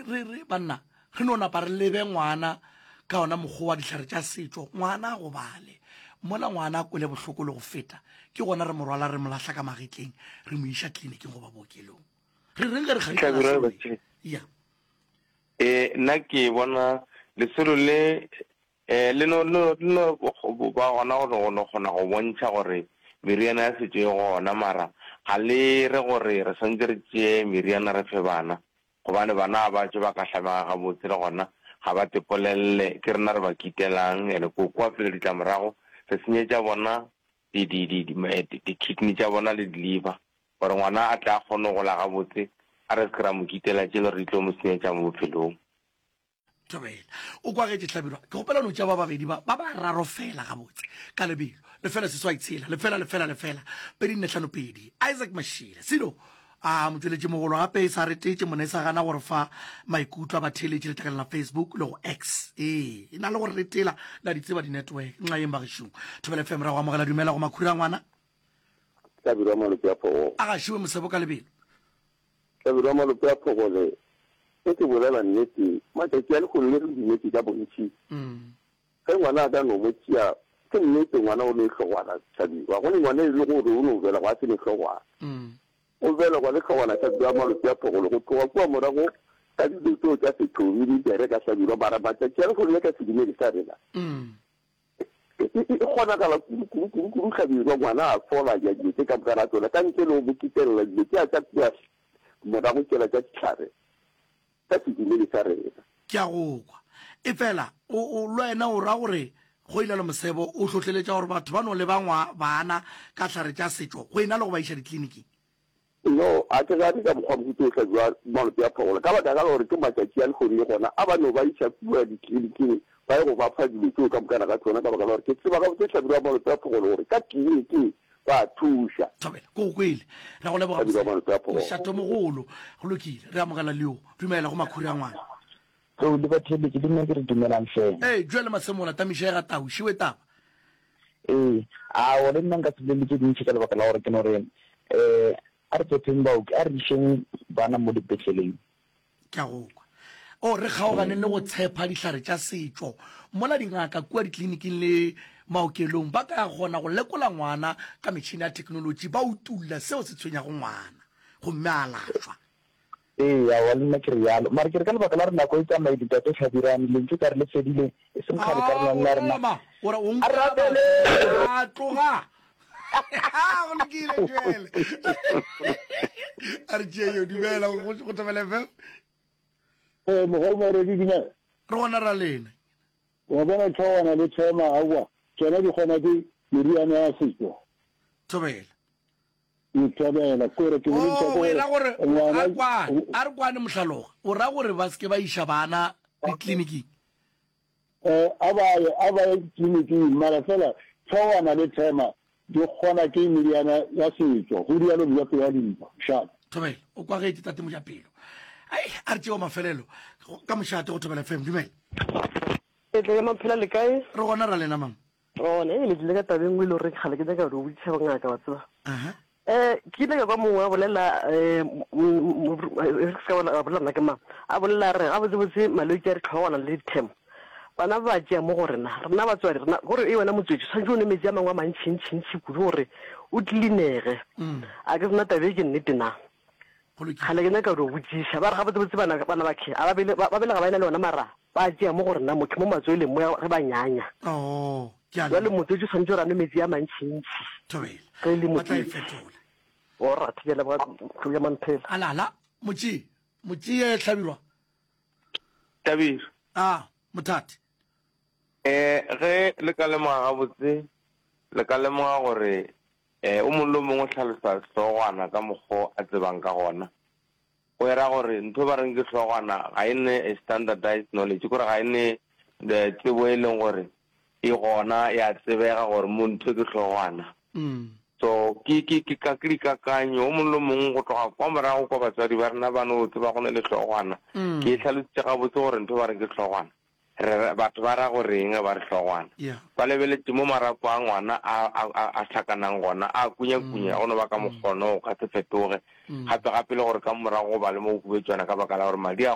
re, re, banna, re no napa re lebe ngwana ka ona mokgwa wa dihlare tša setšo, ngwana a gobale. Mola ngwana a kwele bohloko le go feta, ke gona re mo rwala re mo lahla ka magetleng, re mo iša kliniking goba bookelong. Re reng ge re kgadika Hlabirwa lesolo le? Ya. Ee, nna ke bona lesolo le um le no no le no ba gona go no no kgona go bontšha gore meriana ya setšo e gona, mara ga le re gore re swanetše re tšee meriana re fe bana, gobane bana ga ba tšwe ba ka hlamega gabotse le gona ga ba tepolelle, ke rena re ba kitelang, and ko kwa pele ditlamorago re senyetša bona di di di di kidney tša bona le di liver. Gore ngwana a tle a kgone go gola gabotse, a re se ke ra mo kitela tše le gore di tlo mo senyetša mo bophelong. Thobela. O kwagetše Hlabirwa. Ke kgopela no tšea ba babedi ba, ba bararo fela gabotse, ka lebelo. Lefela seswai tshela, lefela, lefela, lefela, pedi nne hlano pedi. Isaac Mashile. Selo, a motšweletši mogolo gape e sa retetše mona e sa gana gore fa maikutlo a batheeletši letlakaleng la Facebook le go X. Ee, e na le gore retela la di tseba di-network. Nxa yeng bagešong. Thobela FM ra go amogela dumela go makhura ngwana. Hlabirwa Malope a Phogole. A gašiwe mosebo ka lebelo. Hlabirwa Malope a Phogole, Ge ke bolela nnete, matšatši a lehono le re dumetše ka bontši. Ge ngwana a ka no mo tšea, ke nnete ngwana o ne hlogwana, Hlabirwa. Go ne ngwana e le gore o no belegwa a se ne hlogwana. O belegwa le hlogwana, Hlabirwa Malope a Phogole, go tloga kua morago ka dilo tšeo tša sethomi di bereka, Hlabirwa. Mara matšatši a lehono le ka sedumedi sa rena, E, e, e kgonagala kudu, kudu, kudu, kudu Hlabirwa, ngwana a fola ja dilo tše ka moka ga tšona, ka ntle le go mo kitelela dilo tšea tša kua morago tšela tša dihlare ka sedumedi sa rena. Ke a go kwa. Efela, o, o, le wena o ra gore go ile le mosebo o hlohleletša gore batho ba no leba ngwa, bana ka hlare tša setšo go e na le go ba iša dikliniking? No, a ke gane ka mokgwa mohuta o hlabjwa malope a phogolo, ka baka la gore ke matšatši a lehono le gona a ba no ba iša kua dikliniking ba ye go ba fa dilo tšeo ka mokana ga tšona, ka baka la gore ke tseba gabotse hlabirwa malope a phogolo gore ka kliniking ba a thuša. Thobela, ke go kwele. Re a go leboga Hlabirwa malope a phogolo. Mošatomogolo. Go lokile, re amogela leo. Dumela go makhuri a ngwana. Tlou le batheeletši le nna ke re dumelang hle. Ee, Joel Masemola, Tamišega Tau, šiwe taba. Ee, aowa le nna nka se bolele tše dintši ka lebaka la gore ke no re um a re tshepeng baoki, a re išeng bana mo dipetleleng. Ke a go kwa. O re kgaoganeng le go tshepa dihlare tša setšo mola dingaka kua dikliniking le maokelong ba ka kgona go lekola ngwana ka metšhene ya theknolotši ba utulla seo se tshwenyago ngwana gomme a alafšwa. Ee, aowa, le nna ke realo. Mara ke re ka lebaka la gore nako e tsamaile, Tate Hlabirane, lentšu ka re le fedile, e seng kgale ka rena la rena. Ema, o re o A nkwa rapele! A tloga. Go lokile, Joel. A re tšee yo, dumela go go Thobela FM. Ee, mogolo Moredi, dumela. Re gona ra lena. Wa bona tlhogwana le thema, aowa, tšona di kgona ke meriana ya setšo. Thobela. Ke thabela kore ke bolediša Oh, ke o e ra gore gore ngwana a re kwane, a re kwane mohlaloga. O ra gore ba se ke ba iša bana ditleliniking? Eh, a ba ye, a ba ye ditleliniking, mara fela tlhogwana le thema di kgona ke meriana ya setšo, go rialo Mojapelo wa Dimpa. Mošate. Thobela, o kwagetše tate Mojapelo. Ai, a re tšeo mafelelo ka mošate go Thobela FM. Dumela. Etle ya maphela le kae? Re gona ra lena mama. Gona, ee, le tlile ka taba e nngwe e le gore kgale ke nyaka go botšiša bongaka, wa tseba. Um ke ile ka kwa mongwe a bolela um e se ka a bolela nna ke mang, a bolela a re gabotsebotse malwetši a dihlogwana le dithemo bana ba tšea mo go rena, rena batswadi, rena gore e wena motswetši tshwanetse o nwe metsi a mangwe a mantšintšintši kudu gore o tlilinege. A ke sena taba e ke nnete na? Kgale ke nyaka go botšiša, ba re gabotsebotse bana bana ba khe a ba bele ba belega ba ena le ona mara ba tšea mo go rena mo mo matsweleng mo ge ba nyanya. Oh, ke a Jwale leboga. motswetši o swanetše gore a nwe metsi a mantšintši Thobela. ge e le Ba tla e motswetši. fetola. Alright, ke a leboga Tlou ya Mamphela. Alala, motšee, motšee Hlabirwa. Hlabirwa. Ah, Mothati. Eh, ge le ka lemoga gabotse, le ka lemoga gore Ee, o mongwe le o mongwe o hlalosa hlogwana ka mokgo a tsebang ka gona. Go era gore ntho e ba reng ke hlogwana ga e ne a standardized knowledge, ke gore ga e ne the tsebo e leng gore e gona ya tsebega gore mo ntho ke hlogwana. So ke ke ke ka ke dikakanyo, o mongwe le o mongwe go tloga kwa morago kwa batswadi ba rena ba no tseba go ne le hlogwana. Ke e hlalositše gabotse gore ntho e ba reng ke hlogwana. Re re, batho ba ra go reng ge ba re hlogwana? Yeah. Ba lebeletše mo marapo a ngwana a, a, a, a hlakanang gona, a kunyakunya, go no ba ka mokgono, o ka se fetoge. Gape, gape le gore ka morago go ba le mo go hubetšwana ka baka la gore madi a.